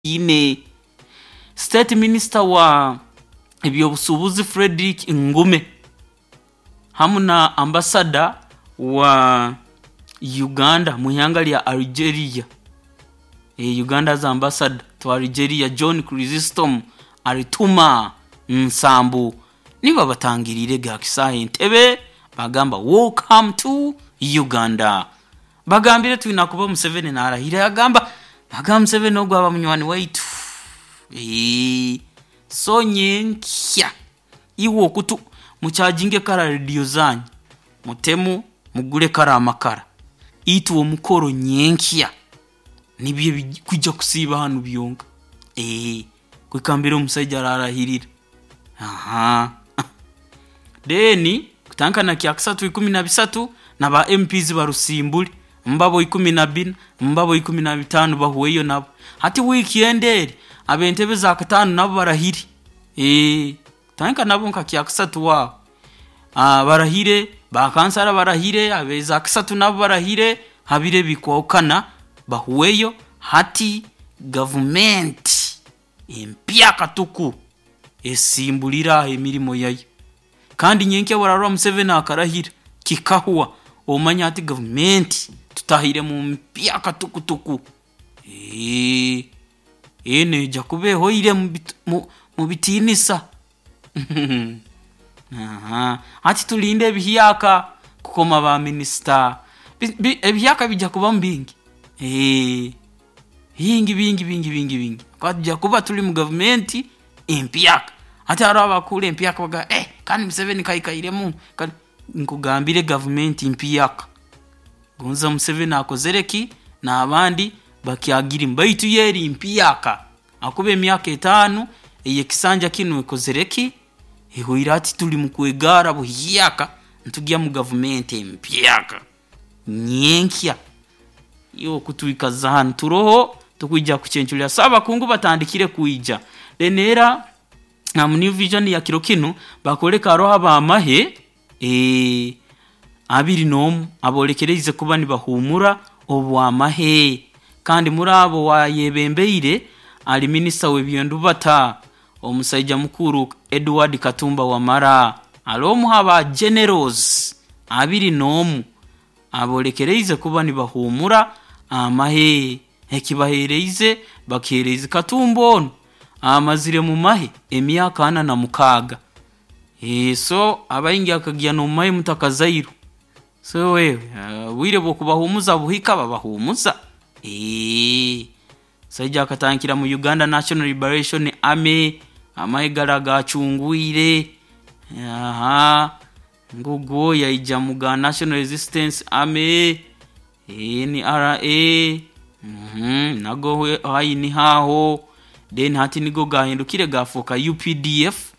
Ine. State Minister wa eby'obusuubuzi Fredrick Ngume hamu na ambasada wa Uganda mu ihanga lya Algeria, Uganda's ambassador to Algeria John Chrysostom Alituma Nsambu nibo abatangiriirege ha kisaahe Entebbe bagamba welcome to Uganda. Bagambire twina kuba Museveni narahira yagamba bagamba Museveni ogu aba munywani waitu. So nyenkya iwe okutu mukyajinge kara rediyo zanyu mutemu mugule kara amakara itwe omukoro nyenkya nibyo ebikwija kusiiba hanu byonka kuhika mbere omusaija ararahirira. Then kutandika na kyakasatu 13 na ba MPs barusimbule mbabo 14 mbabo 15 bahweyo nabo. Hati wiikendi eri ab'entebe za kataano nabo barahire kutandika nabo nka kyakasatu aho barahire, ba kansara barahire, ab'eza kasatu nabo barahire ha biro ebikwahukana bahweyo hati gavumenti empyaka tuku esimbulire aho emirimo yayo. Kandi nyenkya obu oraroora Museveni akarahira kikahwa omanye hati gavumenti tutahire mu mpyaka tukutuku. Enu neija kuba ehoire mu bitiinisa. Hati tulinde ebihyaka kukoma ba minisita, ebihyaka biija kubamu bingi, bingi bingi bingi bingi bingi habwokuba twija kuba tuli mu gavumenti empyaka. Hati haroho abakuhurra empyaka bagamba kandi Museveni kaikairemu, nkugambire gavumenti mpyaka. Gonza Museveni akozere ki n'abandi bakyagirimu baitu yo eri mpyaka habwokuba emyaka etaano ey'ekisanja kinu ekozere ki? Ehoire hati tuli mu kwegarra buhyaka nitugya mu gavumenti empyaka nyenkya. Iwe okutwikaza hanu turoho tukwija kucenculira. So abakungu batandikire kwija. Then era mu New Vision ya kiro kinu bakwoleka haroho ab'amahe 21 aboolekeriize kuba nibahuumura obw'amahe kandi muri abo owayebembeire ali minisita w'ebyendubata omusaija mukuru Edward Katumba Wamala. Ali omu ha ba Generals 21 aboolekeriize kuba nibahuumura amahe. Ekibaheereize bakiheereize Katumba onu amazire mu mahe emyaka 46. So abaingi akagya n'omu mahe mutakazairwe. So obwire bw'okubahuumuza buhika babahuumuza. Omusaija akatandikira mu Uganda National Liberation Army, amahe gali agaacungwire, ngugwo yaija mu ga National Resistance Army, NRA, nago aho niho aho, then hati nigo gaahindukire gaafooka UPDF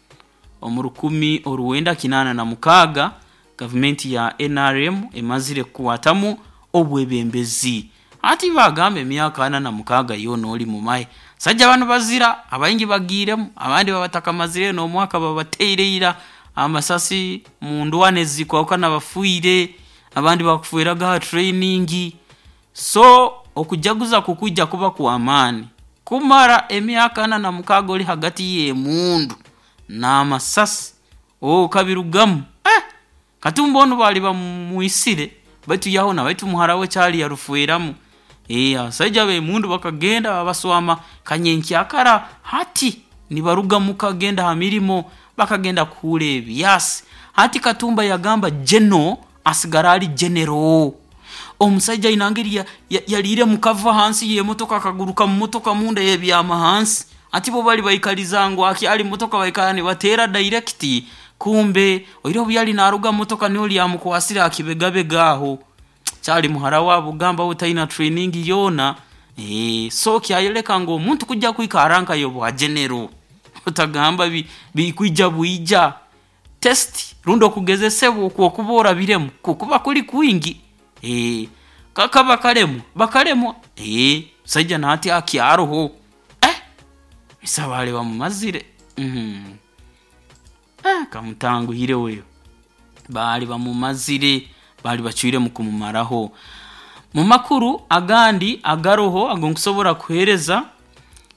omu 1986 gavumenti ya NRM emazire kukwatamu obwebembezi. Hati bagamba emyaka 46 yoona oli mu mahe. Abasaija banu bazira, abaingi bagiiremu, abandi babatakamazireyo n'omwaka babateire ira amasasi mu ndwana ezikwahukana bafiire, abandi bakufeeraga ha training. So okujaguza kukwija kuba kw'amaani kumara emyaka 46 ori hagati y'emundu n'amasasi okabirugamu, Katumba onu baali bamwisire baitu yahona baitu muhara we caali yarufweramu. Abasaija b'emundu bakagenda babaswama kanyenkyakara hati nibaruga muka kugenda ha mirimo bakagenda kuhuura ebyasi. Hati Katumba yagamba General asigara ali General. Omusaija aina engeri yariiremu kava hansi y'emotoka akaguruka mu motoka munda yabyama hansi. Hati bo bali baikaliza ngu akyali mu motoka baikara nibateera direct kumbe oihireho obu yali naaruga mu motoka niho lyamukwasire ha kibegabega aho. Caali muhara waabu gamba we taina training yoona, so kyayoleka ngu omuntu kwija kwikarra nkayo obwa General otagamba bikwija bwija. Test rundi okugezesebwa oku okuba orabiremu kukuba kuli kwingi, kakaba bakaremwa, bakaremwa, omusaija na hati akyaroho, ise baali bamumazire, kamutanguhire we, baali bamumazire, baali bacwiremu kumumaraho. Mu makuru agandi agaroho agu nkusobora kukuheereza.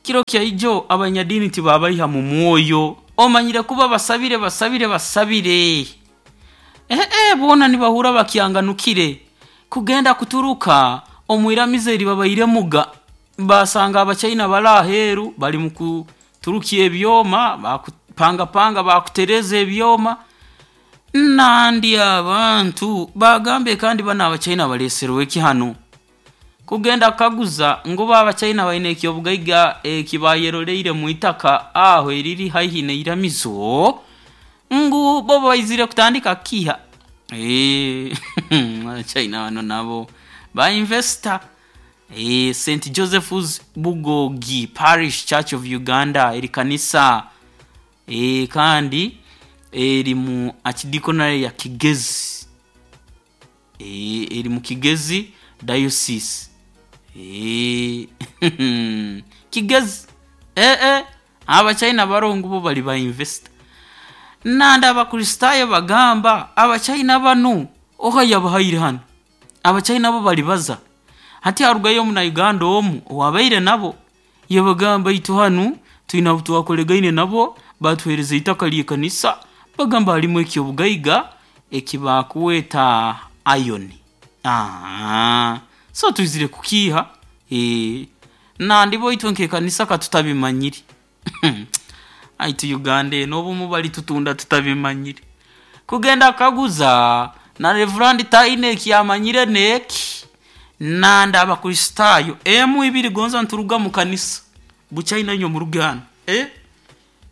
Kiro kyaijo abanyadiini tibabaiha mu mwoyo, omanyire kuba basabire basabire basabire, ee boona nibahurra bakyanganukire kugenda kuturuka omu iramizo eri babairemuga basanga Abachaina bali aheeru bali mu kuturukya ebyoma bakupangapanga bakutereeza ebyoma. Nandi abantu bagambe kandi banu Abachaina baleeserwe ki hanu? Kugenda kukaguza ngu bo Abachaina baine ekyobugaiga eki bayeroleire mwitaka aho eriri haihi n'iramizo ngu bo baizire kutandika kukiiha. Abachaina banu nabo ba investor. St Joseph's Bugogi Parish Church of Uganda eri kanisa kandi eri mu Archdeaconry ya Kigezi, eri mu Kigezi Diocese. Kigezi Abachaina baroho ngu bo bali ba investor. Nandi Abakristaayo bagamba Abachaina banu oha yabahaire hanu? Abachaina bo bali baza. Hati harugayo Omunauganda omu owaabaire nabo yabagamba itwe hanu twine abu twakoregaine nabo baatuheereza itaka ly'ekanisa bagamba harimu ekyobugaiga eki bakweta iron. So twizire kukiiha nandi bo itwe nk'ekanisa katutabimanyire. Baitu Uganda enu obumu balitutunda tutabimanyire. Kugenda kukaguza na Reverand taine eki amanyire n'eki, nandi Abakristaayo emu ibiri gonza nituruga mu kanisa, Buchaina inywe muruge hanu,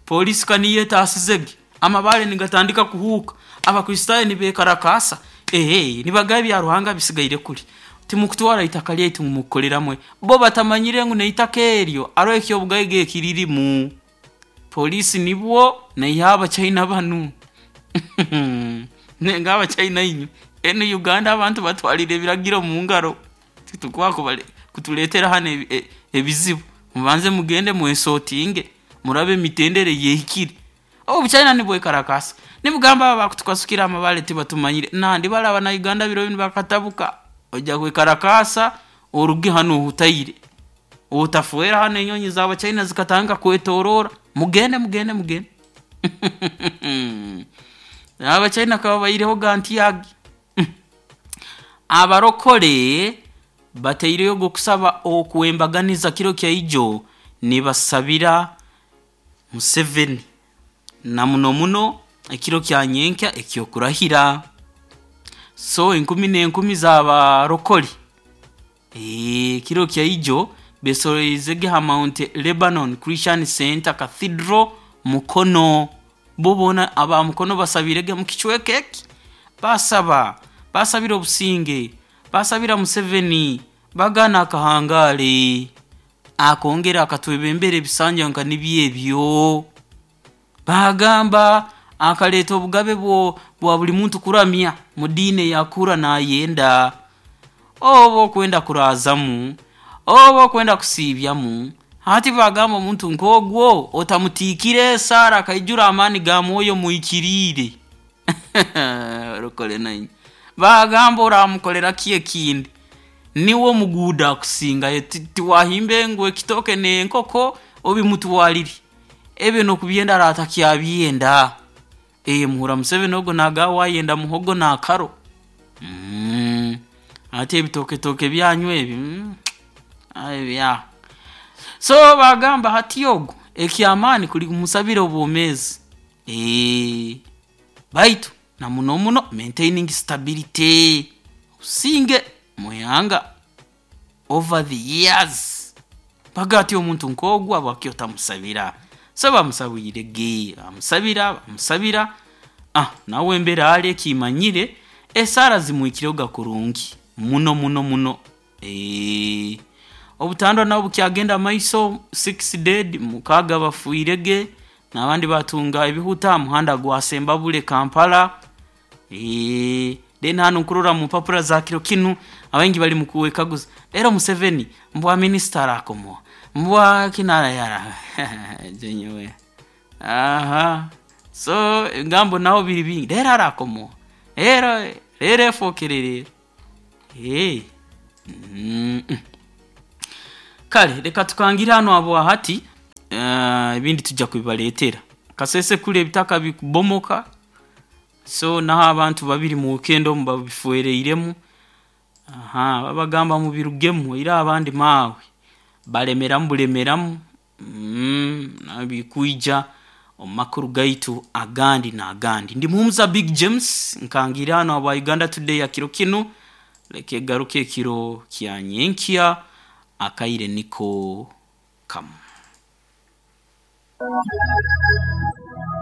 Poliisi ka niyo etaasizege, amabaale nigatandika kuhuuka, Abakristaayo nibeekarakaasa, nibagamba ebya Ruhanga bisigaire kuli, timukutwara itaka lyaitu ngu mukukoleramu bo batamanyire ngu n'itaka eryo haroho ekyobugaiga ekiririmu. Poliisi nibwo naihaho Abachaina banu. Nenga Abachaina inywe, enu Uganda abantu batwaliire ebiragiro mu ngaro, titukwija kutuleetera hanu ebizibu, mubanze mugende mwesortinge murabe emitendera ey'ehikire. Obuchaina nibwekarakaasa, nibugamba abo abakutukasukira amabaale tibatumanyire, nandi bali Abanauganda biro binu bakatabuka, oija kwekarakaasa oruge hanu ohutaire, otafeera hanu enyonyi z'Abachaina zikatandika kwetoroora, mugende mugende mugende. Abachaina kababaihireho gantyagi. Abarokore bataireyo ogw'okusaba okw'embaganiza kiro kya ijo nibasabira Museveni na muno muno ekiro kya nyenkya eky'okurahira. So enkumi n'enkumi z'abarokore kiro kya ijo beesoroizege ha Mount Lebanon Christian Centre Cathedral Mukono. Bo boona aba Mukono basabirege mu kicweka eki, baasaba, baasabira obusinge, baasabira Museveni, bagaana akahangaale, akongere akatwebembera ebisanja nka nibyo ebyo. Baagamba akaleeta obugabe bwa buli muntu kuramya mu diini ei akuhurra naayenda, oba okwenda kuraazamu, oba okwenda kusiibyamu, hati baagamba omuntu nk'ogwo otamutiikire esaara akaijura amaani ga Mwoyo Muhikiriire. Barokore nainywe. Baagamba oraamukolera ki ekindi? Niwe omuguuda akusingayo, tiwahimba ngu ekitooke n'enkoko obimutwarire, ebyo n'okubyenda araaba atakyabyenda. Muhurra Museveni ogu naagamba waayenda muhogo n'akaro, hati ebitooketooke byanyu ebi, ebya. So baagamba hati ogu eky'amaani kuli kumusabira obwomeezi, baitu na muno muno maintaining stability, obusinge omu ihanga over the years. Baagamba hati omuntu nk'ogu habwaki otamusabira? So bamusabiirege, baamusabira baamusabira, nawe embera ali ekimanyire esaara zimuhikirehoga kurungi muno muno muno. Obutandwa nabwo bukyagenda mumaiso, six dead, mukaaga bafiirege n'abandi baatunga ebihuta ha muhanda gwa Sembabule Kampala. Then hanu nkurora mu mpapura za kiro kinu abaingi bali mu kwekaguza reero Museveni mbwa minisita araakomoha, mbwa kinu nyowe so ebigambo naho biri bingi, reero araakomoha, reero reero efookere reero. Kare reka tukangire hanu habwa hati. Ebindi tujja kubibaleetera. Kasese kuli ebitaka bikubomoka, so naho abantu babiri mu weekend omu babifwereiremu. Aha, babagamba mubirugemu era abandi maawe balemeramu bulemeramu. Bikwija omu makuru gaitu agandi n'agandi. Ndi Muhumuza Big James nkangiire hanu habwa Uganda Today ya kiro kinu, leka egaruke ekiro kya nyenkya akaire niko kamu.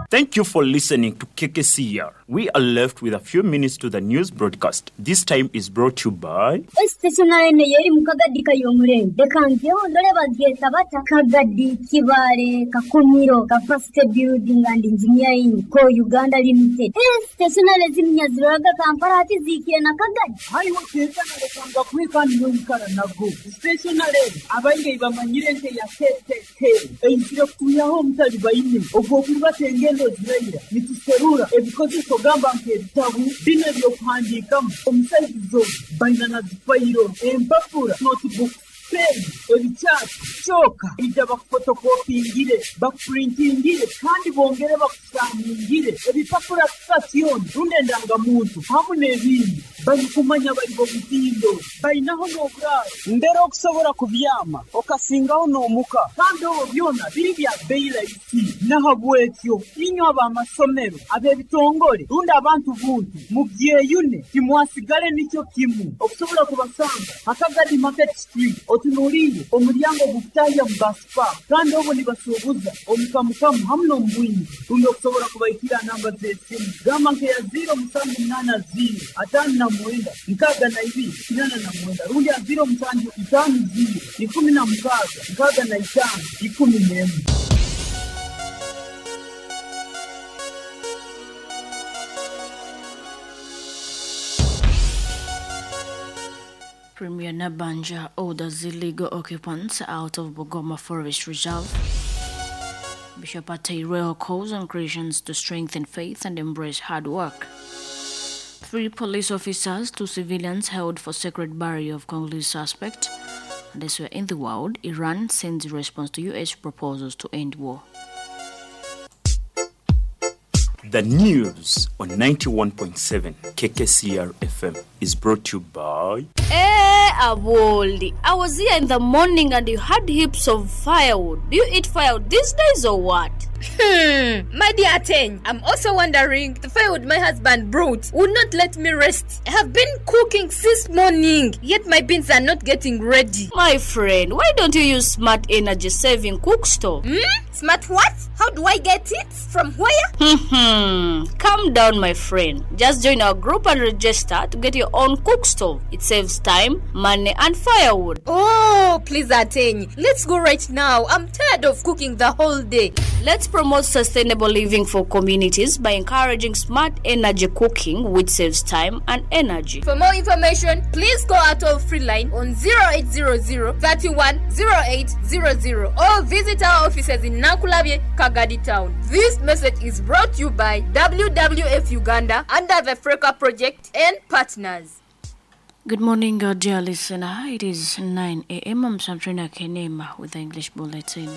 Thank you for listening to KKCR. We are left with a few minutes to the news broadcast. This time is brought to you by. Esiteeshonale eno y'eri mu Kagadi Kayomurembe. Leka ngyeho ndore bagyeta bata Kagadi Kibaale Kakumiro Capacity Building and Engineering Co Uganda Limited. Esiteeshonale zinu nyaziroraga Kampala hati zihikire na Kagadi. Haiwe Keeka nalekanga kubi kandi noikara nago. Siteeshonale enu abaingi eibamanyire nk'eya KKK eizire kutwihaho omutalibaine ogw'okurubata engendo ziraira nituserura ebikozeso gamba nk'ebitabu binu eby'okuhandiikamu omu saizi zoona baina na zifairo, empapura, notebooks, peeni, ebikyati, kyoka ija bakufotokopingire, bakupurintingire kandi bongere bakusikaningire ebipapura kika kyona rundi endangamuntu hamu n'ebindi. Barikumanya bari b'omutindo, bainaho n'oburaaro mbere okusobora kubyama okasingaho n'omuka kandi obwo byona biri bya bei rahisi. Nahabwekyo inywe ab'amasomero, ab'ebitongore rundi abantu buntu mubyeyune timwasigale nikyo kimu. Okusobora kubasanga ha Kagadi Market Street otunuliire omuryango ogukutahya omu bus park kandi obwo nibasuubuza omu kamukamu hamu n'omu bwingi rundi okusobora kubahikira ha namba z'esimu gamba nk'eya ziiro musanju munaana ziiro ataano na mwenda nkaaga na ibiri kinaana na mwenda rundi ha ziiro musanju itaano ziiro ikumi na mukaaga nkaaga na itaano ikumi n'emwe. Premier Nabanja orders illegal occupants out of Bugoma Forest Reserve. Bishop Ataireho calls on Christians to strengthen faith and embrace hard work. 3 police officers, 2 civilians held for sacred burial of Congolese suspect. And elsewhere in the world, Iran sends response to U.S. proposals to end war. The news on 91.7 KKCR FM is brought to you by. Hey, Aboli, I was here in the morning and you had heaps of firewood. Do you eat firewood these days or what? My dear Ateng, I'm also wondering the firewood my husband brought would not let me rest. I have been cooking since morning, yet my beans are not getting ready. My friend, why don't you use smart energy saving cook stove? Smart what? How do I get it? From where? Calm down, my friend. Just join our group and register to get your own cook stove. It saves time, money, and firewood. Oh, please, Ateng. Let's go right now. I'm tired of cooking the whole day. Let's promote sustainable living for communities by encouraging smart energy cooking, which saves time and energy. For more information, please call our toll-free line on 0800 31 0800 or visit our offices in Nankulabye, Kagadi Town. This message is brought to you by WWF Uganda under the Freka Project and partners. Good morning, dear listener. It is 9 a.m. I'm Sabrina Kenema with the English Bulletin.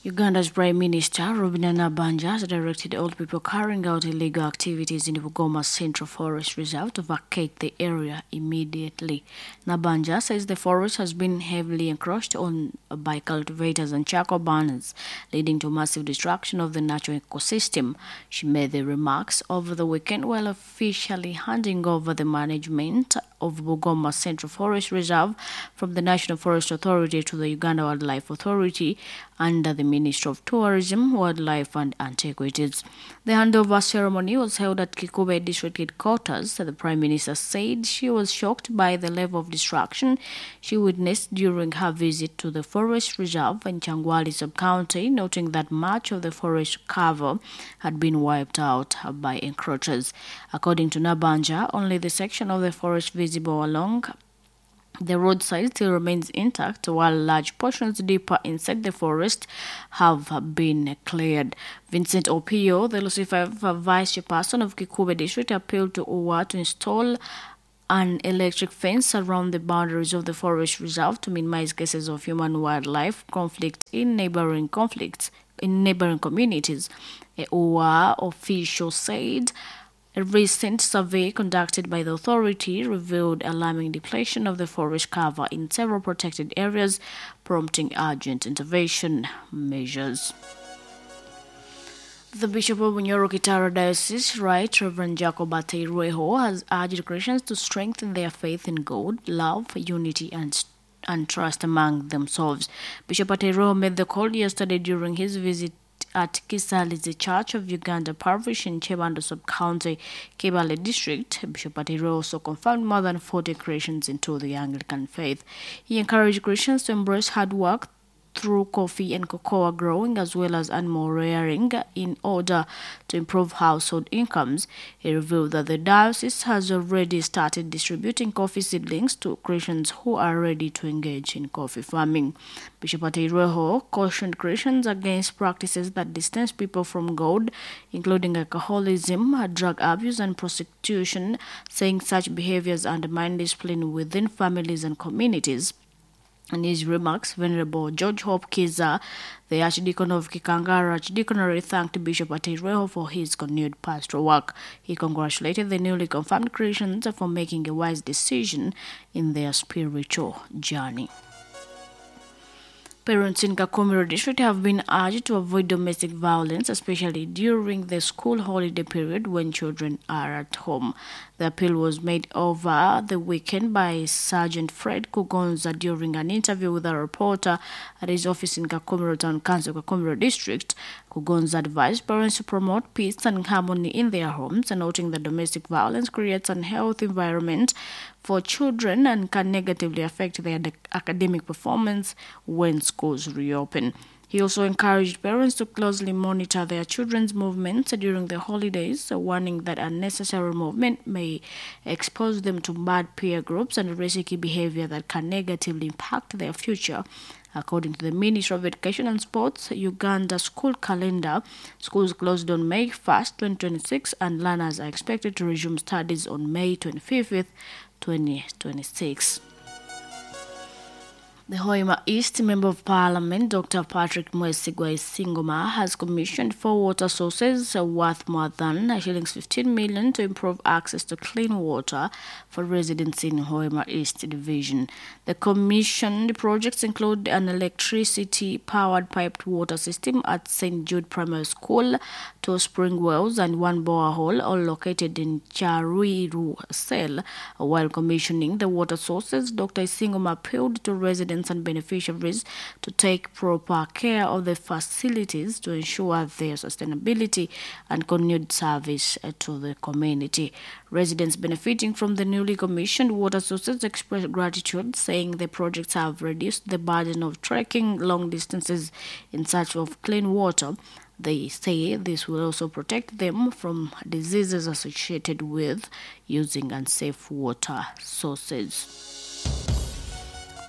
Uganda's Prime Minister, Robinah Nabbanja, has directed all people carrying out illegal activities in the Bugoma Central Forest Reserve to vacate the area immediately. Nabbanja says the forest has been heavily encroached on by cultivators and charcoal burners, leading to massive destruction of the natural ecosystem. She made the remarks over the weekend while officially handing over the management of Bugoma Central Forest Reserve from the National Forest Authority to the Uganda Wildlife Authority under the Ministry of Tourism, Wildlife and Antiquities. The handover ceremony was held at Kikube District Headquarters. The Prime Minister said she was shocked by the level of destruction she witnessed during her visit to the forest reserve in Changwali sub-county, noting that much of the forest cover had been wiped out by encroachers. According to Nabanja, only the section of the forest visible along the roadside still remains intact, while large portions deeper inside the forest have been cleared. Vincent Opio, the Lucifer Vice Chairperson of Kikube District, appealed to UWA to install an electric fence around the boundaries of the forest reserve to minimize cases of human-wildlife conflict in neighboring communities. A OWA official said a recent survey conducted by the authority revealed alarming depletion of the forest cover in several protected areas, prompting urgent intervention measures. The Bishop of Bunyoro Kitara Diocese, Right Reverend Jacob Ateirweho, has urged Christians to strengthen their faith in God, love, unity, and trust among themselves. Bishop Ateirweho made the call yesterday during his visit at Kisalizi Church of Uganda Parish in Kyebando Sub-County, Kibaale District. Bishop Ateirweho also confirmed more than 40 Christians into the Anglican faith. He encouraged Christians to embrace hard work through coffee and cocoa growing as well as animal rearing in order to improve household incomes. He revealed that the diocese has already started distributing coffee seedlings to Christians who are ready to engage in coffee farming. Bishop Ateirweho cautioned Christians against practices that distance people from God, including alcoholism, drug abuse, and prostitution, saying such behaviors undermine discipline within families and communities. In his remarks, Venerable George Hope Kiza, the Archdeacon of Kikangara Archdeaconry, thanked Bishop Ateirweho for his continued pastoral work. He congratulated the newly confirmed Christians for making a wise decision in their spiritual journey. Parents in Kakumiro District have been urged to avoid domestic violence, especially during the school holiday period when children are at home. The appeal was made over the weekend by Sergeant Fred Kugonza during an interview with a reporter at his office in Kakumiro Town Council, Kakumiro District. Kugonza advised parents to promote peace and harmony in their homes, noting that domestic violence creates an unhealthy environment for children and can negatively affect their academic performance when schools reopen. He also encouraged parents to closely monitor their children's movements during the holidays, warning that unnecessary movement may expose them to bad peer groups and risky behavior that can negatively impact their future. According to the Ministry of Education and Sports, Uganda school calendar, schools closed on May 1st, 2026, and learners are expected to resume studies on May 25th, 2026. The Hoima East Member of Parliament, Dr. Patrick Mwesigwa Isingoma, has commissioned 4 water sources worth more than shillings 15 million to improve access to clean water for residents in Hoima East Division. The commissioned projects include an electricity-powered piped water system at St. Jude Primary School, 2 spring wells and 1 borehole, all located in Charuiru Cell. While commissioning the water sources, Dr. Isingoma appealed to residents and beneficiaries to take proper care of the facilities to ensure their sustainability and continued service to the community. Residents benefiting from the newly commissioned water sources expressed gratitude, saying the projects have reduced the burden of trekking long distances in search of clean water. They say this will also protect them from diseases associated with using unsafe water sources.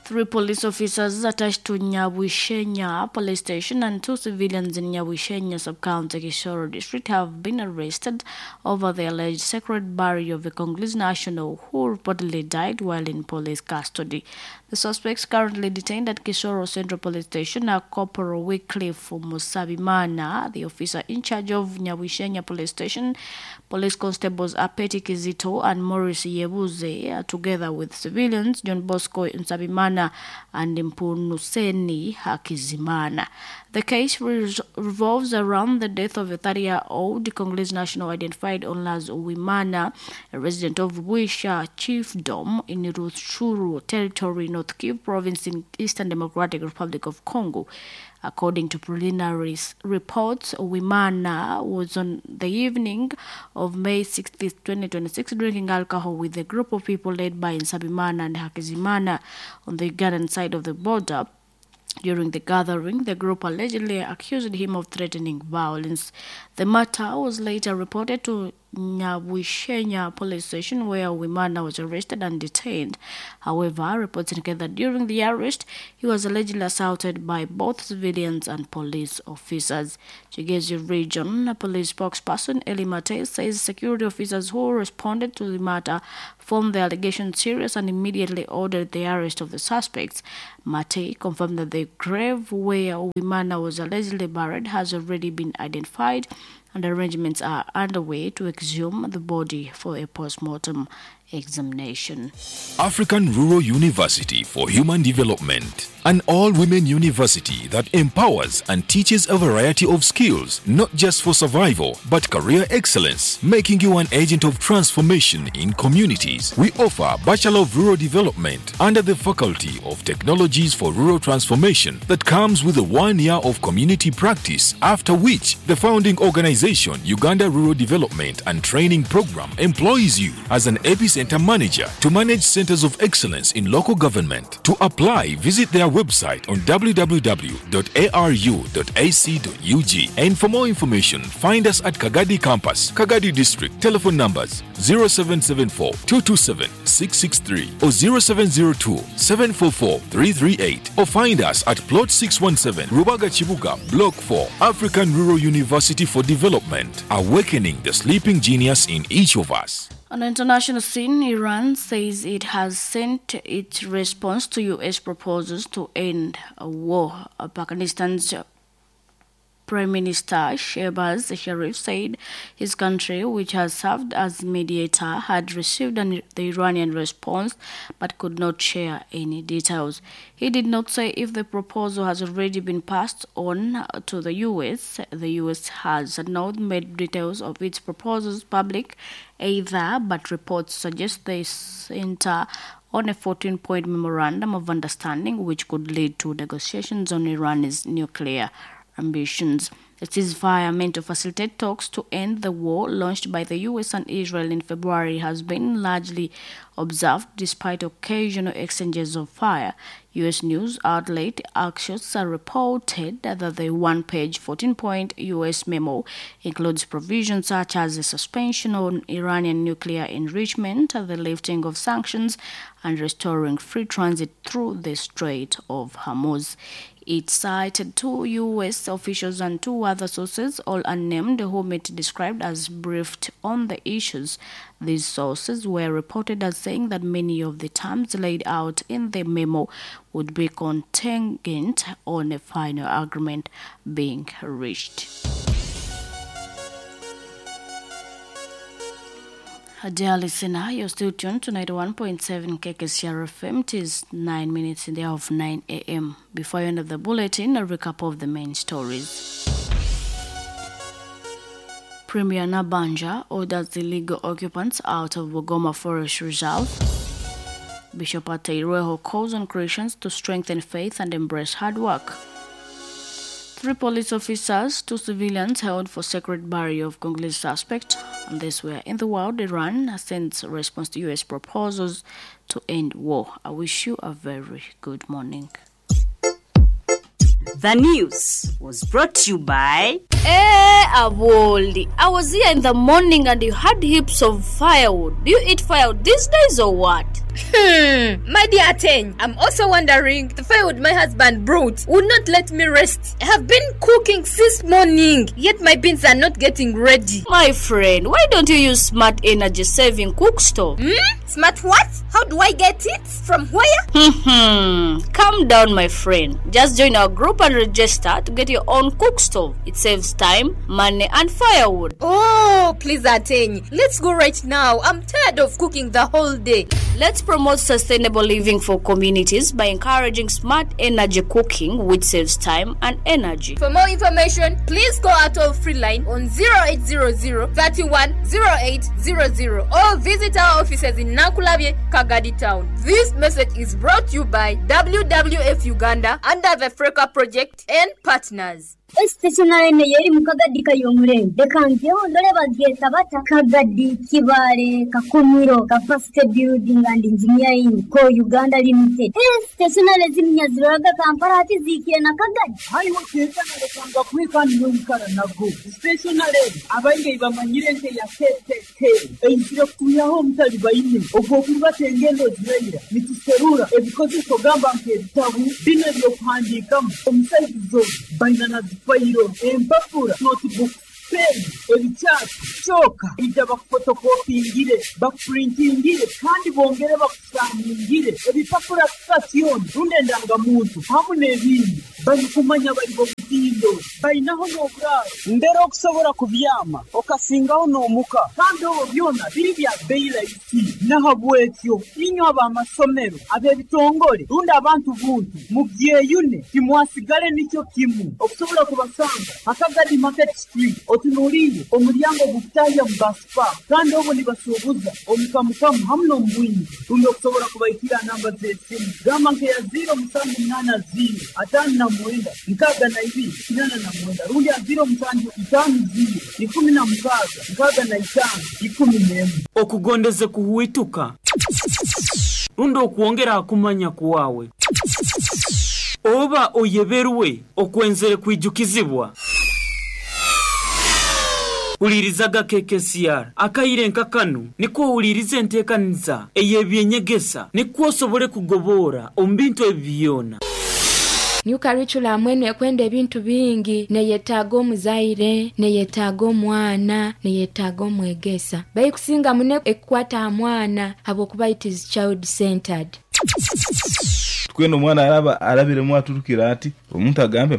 3 police officers attached to Nyabwishenya police station and 2 civilians in Nyabwishenya sub-county Kisoro district have been arrested over the alleged sacred burial of a Congolese national who reportedly died while in police custody. The suspects currently detained at Kisoro Central Police Station are Corporal Wycliffe Musabimana, the officer in charge of Nyabwishenya police station, police constables Apeti Kizito and Maurice Yebuze, together with civilians John Bosco Nsabimana and Mpunuseni Hakizimana. The case revolves around the death of a 30-year-old Congolese national identified only as Uwimana, a resident of Wisha Chiefdom in Rutshuru territory, North Kivu province in Eastern Democratic Republic of Congo. According to preliminary reports, Uwimana was on the evening of May 6, 2026, drinking alcohol with a group of people led by Nsabimana and Hakizimana on the Ugandan side of the border. During the gathering, the group allegedly accused him of threatening violence. The matter was later reported to Nyabwishenya police station where Wimana was arrested and detained. However, reports indicate that during the arrest, he was allegedly assaulted by both civilians and police officers. Kigezi Region Police spokesperson Eli Mate says security officers who responded to the matter found the allegations serious and immediately ordered the arrest of the suspects. Mate confirmed that the grave where Wimana was allegedly buried has already been identified and arrangements are underway to exhume the body for a post-mortem examination. African Rural University for Human Development, an all women university that empowers and teaches a variety of skills, not just for survival, but career excellence, making you an agent of transformation in communities. We offer Bachelor of Rural Development under the Faculty of Technologies for Rural Transformation that comes with a 1 year of community practice, after which the founding organization, Uganda Rural Development and Training Program, employs you as an epicenter manager to manage centers of excellence in local government. To apply, visit their website on www.aru.ac.ug. And for more information, find us at Kagadi Campus, Kagadi District. Telephone numbers 0774 227 663 or 0702 744 338. Or find us at Plot 617, Rubaga Chibuga, Block 4, African Rural University for Development, awakening the sleeping genius in each of us. On the international scene, Iran says it has sent its response to U.S. proposals to end a war. Pakistan's Prime Minister Shehbaz Sharif said his country, which has served as mediator, had received the Iranian response but could not share any details. He did not say if the proposal has already been passed on to the U.S. The U.S. has not made details of its proposals public either, but reports suggest they center on a 14 point memorandum of understanding which could lead to negotiations on Iran's nuclear ambitions. The ceasefire meant to facilitate talks to end the war launched by the US and Israel in February has been largely observed despite occasional exchanges of fire. US news outlet Axios reported that the one-page 14-point US memo includes provisions such as a suspension on Iranian nuclear enrichment, the lifting of sanctions, and restoring free transit through the Strait of Hormuz. It cited two U.S. officials and two other sources, all unnamed, whom it described as briefed on the issues. These sources were reported as saying that many of the terms laid out in the memo would be contingent on a final agreement being reached. Dear listener, you're still tuned to 91.7 KKCR FM. It is 9 minutes in the hour of 9 a.m. Before I end of the bulletin, a recap of the main stories. Premier Nabanja orders the illegal occupants out of Bugoma Forest Reserve. Bishop Ateireho calls on Christians to strengthen faith and embrace hard work. Three police officers, two civilians held for sacred burial of Congolese suspect. And this were in the world, Iran sends response to U.S. proposals to end war. I wish you a very good morning. The news was brought to you by Eh, Aboli. I was here in the morning and you had heaps of firewood. Do you eat firewood these days or what? My dear Ateng, I'm also wondering the firewood my husband brought would not let me rest. I have been cooking since morning, yet my beans are not getting ready. My friend, why don't you use smart energy saving cook stove? Smart what? How do I get it? From where? Calm down, my friend. Just join our group and register to get your own cook stove. It saves time, money, and firewood. Oh, please, Ateng. Let's go right now. I'm tired of cooking the whole day. Let's promote sustainable living for communities by encouraging smart energy cooking, which saves time and energy. For more information, please call our toll free line on 0800 31 0800 or visit our offices in Nakulabye, Kagadi Town. This message is brought to you by WWF Uganda under the Freka Project and partners. Stationary eno yeri mu Kagadi Kayomurembe. Leka njeho ndole bagyeta bata Kagadi Kibaale Kakumiro Capacity Building and Engineering Co Uganda Limited. Stationary ziminya ziroraga Kampala ati ziikire na Kagadi. Haiwe kenkana lekanga kweka niwe nago. Stationary abaingi bamanyire nke ya KKK. Eizire kutuyaho omutali baine ogw'okurubata engendo ziraira nituserura ebikozeso gamba nk'ebitabu bino ebyokuhandiikamu omusaizi baina na zifayiro empapura notebook pen ebikyasi kyoka ija bakufotokopingire bakupurintingire kandi bongere bakusaningire ebipapura sitasioni rundi endangamuntu hamu n'ebindi barikumanya bari bomutindo bainaho n'oburaaro mbere okusobora kubyama okasingaho n'omuka kandi obwo byona biri bya bei rahisi nahabwekyo inywe ab'amasomero ab'ebitongore rundi abantu buntu mubyeyune timwasigale nikyo kimu okusobola kubasanga Akagadi Market Street otunuliire omulyango gukutahya mu basipa kandi obwo nibasuubuza omukamukamu hamu n'omubwingi rundi okusobola kubaikira namba z'esimu gamba nkeya 0780 59 62 89 rundi ya 0750 16 65 11. Okugondeze kuhuituka rundi okwongera akumanya kuwawe oba oyeberwe okwenzere kwijukizibwa. Ulirizaga KKCR akaire nkakanu niko ulirize enteekaniza ey'ebyenyegesa nikwo osobole kugobora omu bintu ebi byona. New curriculum eno ekwenda ebintu bingi, neyetaaga omuzaire, neyetaaga omwana, neyetaaga omwegesa. Baikusinga muno ekukwata aha mwana habwokuba it is child centered. Twena omwana araba arabiremu aturukira ati omuntu agambe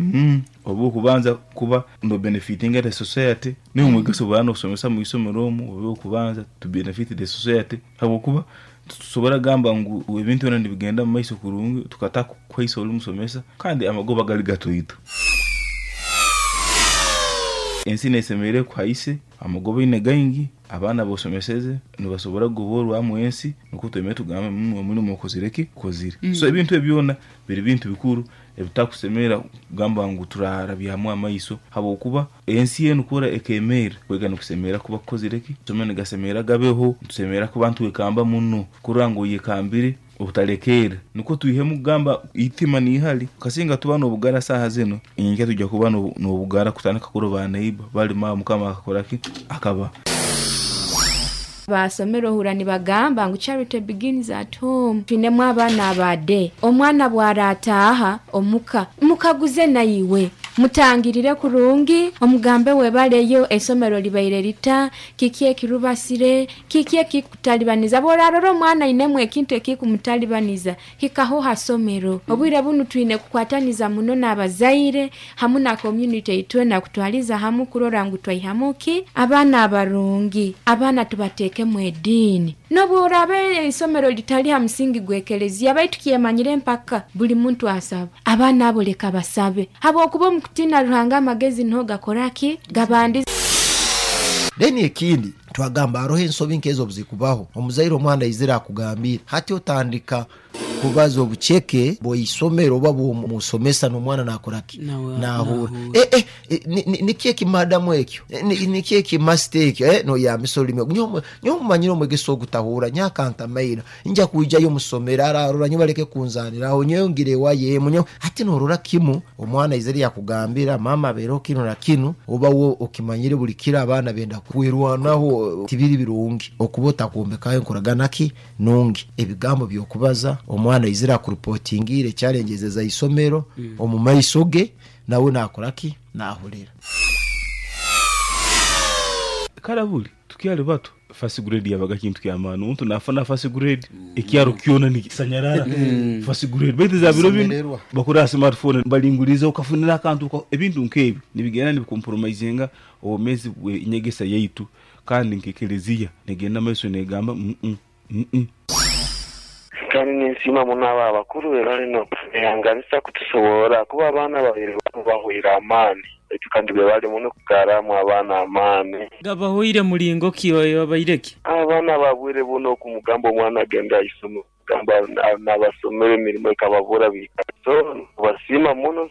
oba okubanza kuba no benefiting the society niwe omwegesa obara nokusomesa mu isomero omu oba okubanza to benefit the society habwokuba tusobora gamba ngu ebintu byona nibigenda mu maiso kurungi tukata kuhaisa ori musomesa kandi amagoba gali gatoito. Ensi nesemereire kuhaise amagoba ine gaingi abaana bosomeseze nibasobora kugoborwamu ensi nukwo twemere tugambe omurimo okozire ki okozire. So ebintu ebyona biri bintu bikuru ebitakusemera kugamba ngu turarabyamu amaiso habwokuba ensi enu kora ekemeera kwega nikusemera kuba kukozire ki somero nigasemera gabeho nitusemera kuba ntwekamba muno kurora ngu oyekambire obutalekeera nukwo twihemu kugamba itima niihali kasinga tuba n'obugara saaha zino inkya tujja kuba n'obugara kutandika kuroba neiba balima mukama akakora ki akaba. Basomero ohura nibagamba ngu charity begins at home. Twinemu abaana abade. Omwana bwarataaha omuka mukaguze naiwe mutangirire kurungi omugambe webaleyo esomero libaire lita kiki ekirubasire kiki ekikutalibaniza bworarora omwana ainemu ekintu ekikumutalibaniza hikaho hasomero. Obwire bunu twine kukwataniza muno n'abazaire hamu na community itwena kutwaliza hamu kurora ngu twaihamu ki abaana abarungi abaana tubateekemu ediini. Nobworabe isomero litali ha musingi gw'ekelezia baitu kyemanyire mpaka buli muntu asaba abaana abo leka basabe habwokuba omukutina Ruhanga amagezi niho gakoraki gabandi. Then ekindi twagamba aroho ensobi nkezo obuzikubaho omuzaire omwana aizire akugambira hati otandika kubaza obuceke bw'isomero oba bw'omusomesa n'omwana nakoraki nahura niki ekimadamu ekyo niki ekimasita ekyo noyamisa olulimi nyowe mumanyire omwegesa ogutahura nyakantamaira nja kwijayo musomero ararora nyo baleke kunzaniraho nyowe ngire ewayemu nyowe hati norora kimu omwana aizire yakugambira mama abeereho kinu na kinu oba wo okimanyire buli kiro abaana benda kwerwanaho tibiri birungi okuba otakumbekayo enkoragana ki nungi ebigambo by'okubaza omwana aizire akurupotingire challenges za isomero omu maiso ge nawe nakoraki nahurira. Karabuli tukyali bato first grade yabaga kintu kyamaani omuntu nafuna first grade ekyaro kyona nikisanyarara first grade baitu za biro bino bakora smartphone balinguliza okafunira akantu ebintu nk'ebyo nibigenda nibicompromisinga obumezi bw'enyegesa yaitu kandi nk'ekelezia negenda maiso negamba Kandi ninsiima muno abo abakuru be bali n'okuyanganisa kutusoborra kuba abaana babiri bahwire amaani. Kandi bebale muno okugarramu abaana amaani. Gabahoire mulingo ki oyo abaire ki? Abaana ba bwire bunu okumugamba omwana agende aisomero gamba nabasomera emirimo ekababura biikara. So nibasiima muno.